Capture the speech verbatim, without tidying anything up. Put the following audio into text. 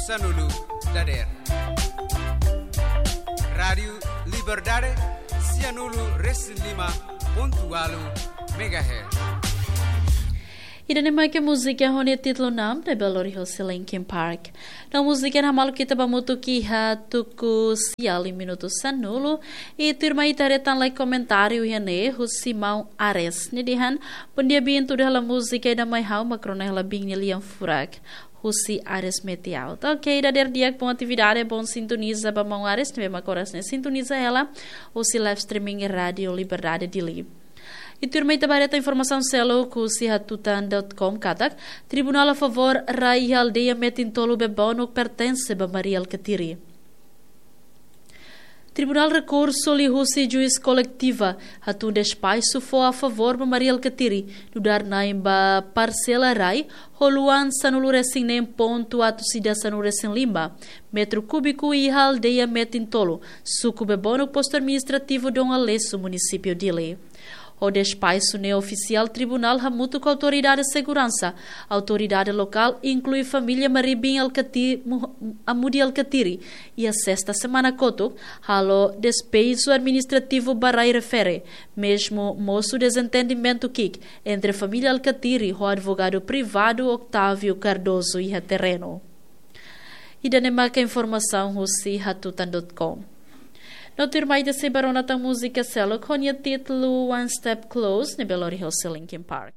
Sanulu dader. Rádiu Liberdade, sianulu resin lima pontu walu megahertz. Ida-ne'e mak múzika ho nia títulu Numb, ne'ebé lori hosi Linkin Park. No múzika ne'e hamaluk ita ba hamutuk iha tuku sia liu minutu sanulu, i tuirmai ita haree tan lai komentáriu iha ne'e husi maun Ares. Nia dehan, bom dia Bintu, halo múzika ida mai ha'u mak rona hela biin nia lian furak. Husi Ares Metial. Oke, dader di'ak, bom atividade, bom sintoniza ba maun Ares, ne'ebé mak oras ne'e sintoniza hela husi live streaming Rádiu Liberdade Dili. I tuirmai ita ba haree tan informasaun seluk husi hatutan dot com katak, tribunál a favór rai iha aldeia metin tolu bebonuk pertense ba Mari Alkatiri. Tribunál Rekursu liuhusi Juís Koletiva hatun despaxu fó a favór ba Mari Alkatiri, nu'udar na'in ba parsela rai ho luan sanulu resin neen pontu atus ida sanulu resin lima metru kúbiku iha aldeia metin tolu, suku bebonuk postu administrativu Dom Aleixo, munisípiu Dili. Ho despaxu ne'e ofisiál, tribunál hamutuk ho autoridade seguransa, autoridade lokál, inklui família Mari Biin Alkati-, Mu-, Amudi Alkatiri, iha sesta semana kotuk, halo despeju administrativu ba rai refere, mezmu mosu dezentendimentu ki'ik entre família Alkatiri ho advogadu privadu Octávio Cardoso iha terrenu. Ida-ne'e mak informasaun husi hatutan dot com. No tuirmai ita sei ba rona tan múzika seluk ho nia títulu One Step Close, ne'ebé lori hosi Linkin Park.